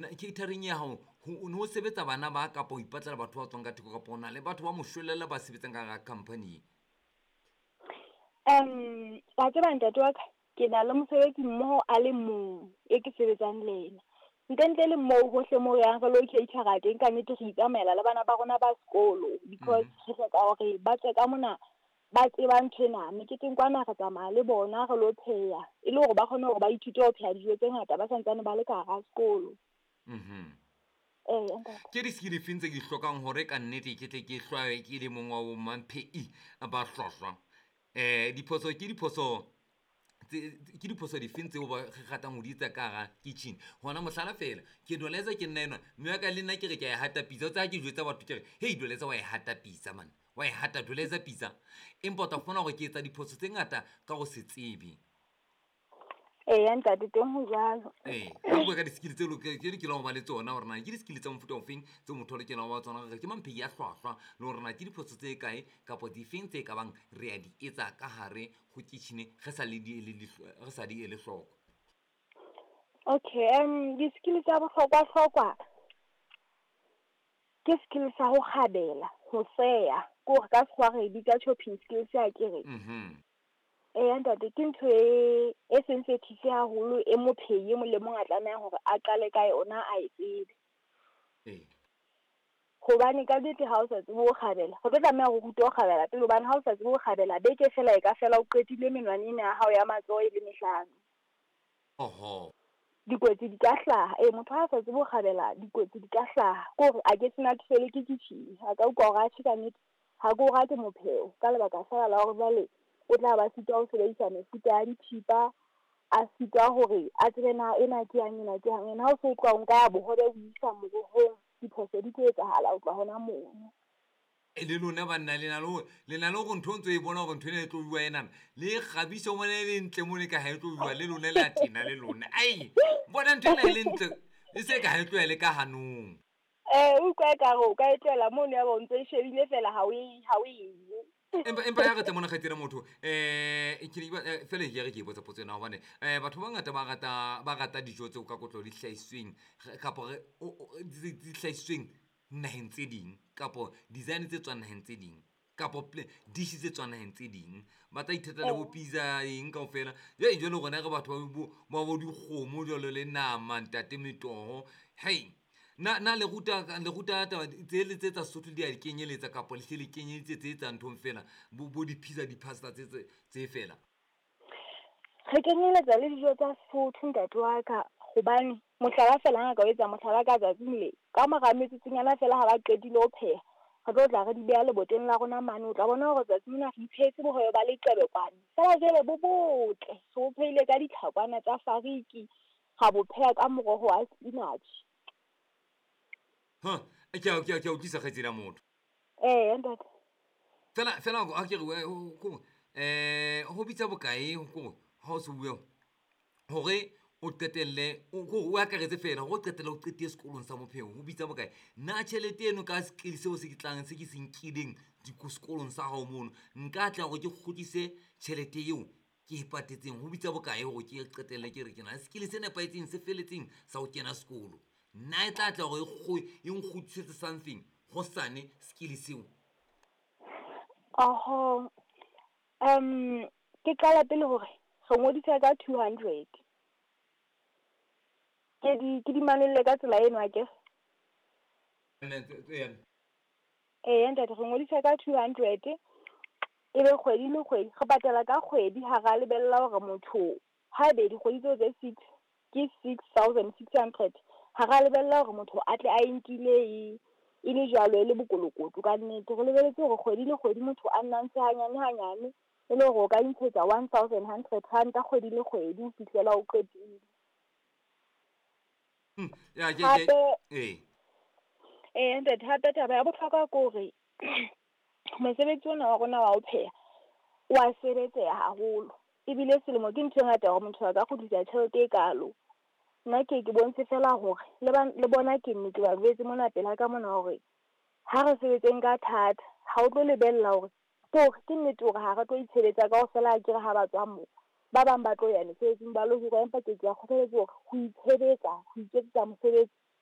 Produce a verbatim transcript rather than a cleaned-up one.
Catering ya hao ho no sebetsa bana ba kapa ho ipatlela batho ba tswang ka theko, kapa o na le batho ba moshwelella ba sebetsang ka hara company? Um wa tseba ntate wa ka, ke na le mosebetsi mmoho a le mong e ke sebetsang le ena. Ntle ntle le moo hohle moo re yang re lo cater-a teng, ka nnete re itsamaela le bana ba rona ba sekolo, because re hloka hore ba tswe ka mona ba tseba nthwena. Meketeng kwana re tsamaya le bona re lo pheha, e le hore ba kgone hore ba ithute ho pheha dijo tse ngata ba santsane ba le ka hara sekolo. Mhm. Ee, ntate. Ke di-skill difeng tse ke di hlokang hore ka nnete ke tle ke hlwaye ke le mong wa bo mamphehi ba hlwahlwa? Um diphoso ke diphoso ke diphoso difeng tseo ba re ratang ho di etsa ka hara kitchen? Hona mohlala fela, ke doleza ke nna enwa, mme wa ka le nna ke re ke a e hata pitsa. O tseba ha ke jwetsa batho ke re, hei doleza wa e hata pitsa man, wa e hata doleza pitsa. Empa o tla fumana hore ke etsa diphoso tse ngata ka ho se tsebe. Eya ntate, teng ho jwalo. Ee, ha bua ka di-skill tse tse lokelang ho ba le tsona, hore na ke di-skill tsa mofuta ofeng tseo motho a lokelang ho ba tsona, hore ke mamphehi a hlwahlwa, le hore na ke diphoso tse kae kapa difeng tse ka bang re a di etsa ka hare ho kitchen re sa le di ele re sa di ele hloko. Okay, um di-skill tsa bohlokwa hlokwa ke skill sa ho kgabela, ho seya, ke hore ka sekgowa re e bitsa chopping skills akere. Mhm. Eya ntate, ke ntho e e sensitive haholo e mophehi e mong le mong a tlamehang hore a qale ka yona a e tsebe. Ee. Hobane ka nnete ha o sa tsebe ho kgabela, re tlo tlameha ho rutwa ho kgabela pele, hobane ha o sa tsebe ho kgabela beke fela e ka fela o qetile menwana ena ya hao ya matsoho e le mehlano. Oho. Dikotsi di ka hlaha, ee motho ha a sa tsebe ho kgabela dikotsi di ka hlaha. Ke hore a ke se natefelwe ke kitchen, a ka utlwa hore atjhe ka nnete ha ke o rate mopheo, ka lebaka fela la hore jwale o tla ba sitwa ho sebedisa mefuta ya dithipa, a sitwa hore a tsebe na ena ke yang ena ke yang. Ene ha o so tloha o nka bohobe o isa morohong, diphoso di tlo etsahala ho tloha hona mono. E le lona banna le na le hore le na le hore ntho o ntso e bona hore ntho ena e tlo bua enana, le e kgabise o bone e le ntle mona e ka ha e tlo bua, le lona le a tena le lona. Ai, bona ntho ena e le ntle, e se ka ha e tloha le ka hanong. Eh, utlwa ekare o ka e tlohela mono ya ba o ntso e shebile fela ha o e ha o e je. Empa empa ya re tle mona kgaitsedi motho, eh ke ne ke fela ke re ke botsa potso ena hobane eh batho ba bangata ba rata ba rata dijo tseo ka kotlo di hlahisitsweng kapa re di hlahisitsweng naheng tse ding, kapo design tse tswang naheng tse ding, kapo dish tse tswang naheng tse ding. Ba tla ithatela le bo pizza eng kaofela. Jwale jwale rona re batho ba bo ba bo dikgomo jwalo le nama ntate metoho. Hei, na na le ruta le ruta taba tse le tse tsa Sesotho di a di kenyeletsa kapa le hle le kenyeditse tse tsa nthong fela, bo bo di-pizza di-pasta tse tse tse fela? Re kenyeletsa le dijo tsa Sesotho ntate wa ka, hobane mohlala fela ha nka o etsa mohlala ka tsatsing le, ka mora metsotsonyana fela ha ba qetile ho pheha, re tlo tla re di beha leboteng la rona mane. O tla bona hore tsatsing lena re iphehetse bohobe ba leqebekwane, fela jwale bo botle, re bo phehile ka ditlhakwana tsa fariki, ra bo pheha ka moroho wa spinach. Ha, ke a ke a ke a utlwisisa kgaitsedi ya motho. Eya ntate. Fela fela ha ke re ko eh ho bitsa bokae ko ha o se bua hore o qetelle o o akaretse fela hore o qetelle o qetile sekolong sa bophelo ho bitsa bokae? Na tjhelete eno ka skill seo se ke tlang se ke se nkileng sekolong sa hao mono, nka tla hore ke kgutlise tjhelete eo ke e patetseng, ho bitsa bokae hore ke qetelle ke re ke na le skill se nepahetseng se felletseng sa ho kena sekolo? Nna e tla tla hore e nkgutlisetse something hosane skill seo? Oho, um ke qala pele hore re ngodisa ka two hundred. Ke di ke di manolle ka tsela eno akere? Eya ntate, re ngodisa ka two hundred, e be kgwedi le kgwedi re patala ka kgwedi, ha ra lebella hore motho haebe dikgwedi tseo tse six ke six thousand six hundred, ha ra lebella hore motho a tle a e nkile e e le jwalo e le bokolokoto ka nnete. Re lebelletse hore kgwedi le kgwedi motho a nna ntshe hanyane hanyane, e le hore o ka intshetsa one thousand hundred ranta kgwedi le kgwedi ho fihlela o qetile. Ya ke ke Hape ee. Eya ntate, hape taba ya bohlokwa ke hore mosebetsi ona wa rona wa ho pheha o wa sebetseha haholo, ebile selemo ke ntho e ngata hore motho a ka kgutlisa tjhelete e kalo. Nna ke ke bontshe fela hore le ba le bona ke nne ke ba jwetse mona pela ka mona hore ha re sebetseng ka thata, ha o tlo lebella hore ke hore ke nnete hore ha re tlo itshebetsa kaofela akere ha ba tswa moo. Ba bang ba tlo ya mesebetsing ba lo hirwa, empa ke ke ba kgothaletse hore ho itshebetsa, ho iketsetsa mosebetsi